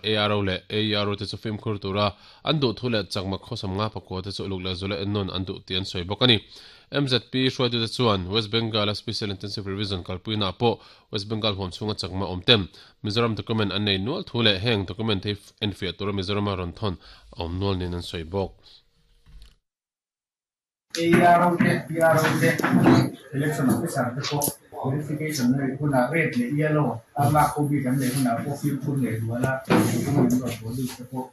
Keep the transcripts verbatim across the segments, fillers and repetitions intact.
A R O leh A E R O te chu fimkhur tura an duh thu leh chakma khawsam nga pakua te chu uluk leh zula en nawn an duh tih an sawi bawk a ni. M Z P hruaitute chuan West Bengal a Special Intensive Revision kalpuina ah pawh West Bengal huam chhunga chakma awm ten Mizoram document an nei nual thu leh heng document hi enfiah tura Mizorama rawn thawn a awm nual niin an sawi bawk. A R O te, P R O te, election officer te pawh verification na rih hunah red leh yellow a lak ho bik an neih hunah pawh fimkhur leh zual a document rawn police te pawh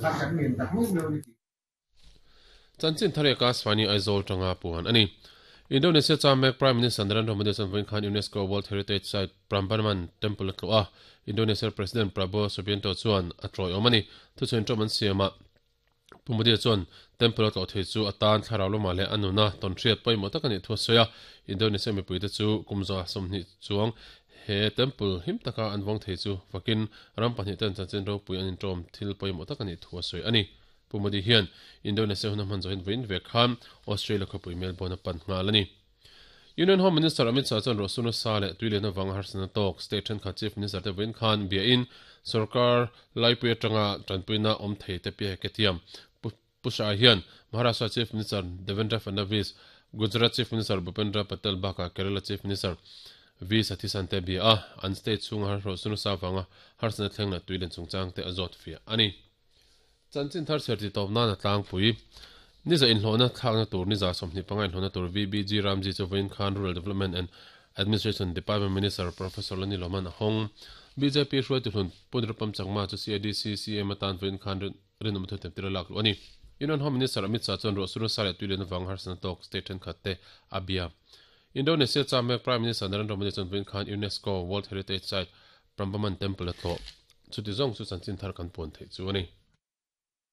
kha kan ngen tak meuh meuh ni. Chanchin thar eka Swani Aizawl tanga puan ani. Indonesia chamek Prime Minister Narendra Modi chan voin khan UNESCO World Heritage Site Prambanan Temple atlo a. Indonesia President Prabowo Subianto chuan a troi omani thu chen trom an siama Pumudi chuan temple atlo thei chu atan thlarau lama le anuna ton thriat paimo takani thu soya. Indonesia mipui te chu kumza somni chuang he temple him taka an wong thei chu fakin ram pahnih ten chanchin ro pui an in trom thil paimo takani thu soi ani. Pumudi hian Indonesia hun man zoin voin ve khan Australia khapui Melbourne pan ngal ani. Union Home Minister Amit Shah chuan rosuna sa leh tuilena wang harsana tok state then kha Chief Minister te voin khan bia in sarkar laipui atanga tanpuina om thei te pi ke tiam. Pusha hian Maharashtra Chief Minister Devendra Fadnavis, Gujarat Chief Minister Bhupendra Patel baka Kerala Chief Minister V Satheesan te bia a an state chunga har rosuna sa wanga harsana thlengna tuilen chungchang te azot fia ani. Chanchin thar serti tawp na na tlang pui ni za inhlawhna thlakna tur ni za sawmhnih panga inhlawhna tur V B G Ramji chu vawiin khan Rural Development and Administration Department Minister Professor Lani Loman a hawng. B J P hruaitu hlun Punrupam Chakma chu C A D C C M atan vawiin khan rinawm thu temtir a lak luh ani. Union Home Minister Amit Shah chuan ruah sa leh tuilen awang harsana tawk state thenkhat te a bia. Indonesia chamek Prime Minister Narendra Modi chuan vawiin khan UNESCO World Heritage Site Prambanan Temple a tlawh. Chuti zawng chu chanchin thar kan puan theih chu ani.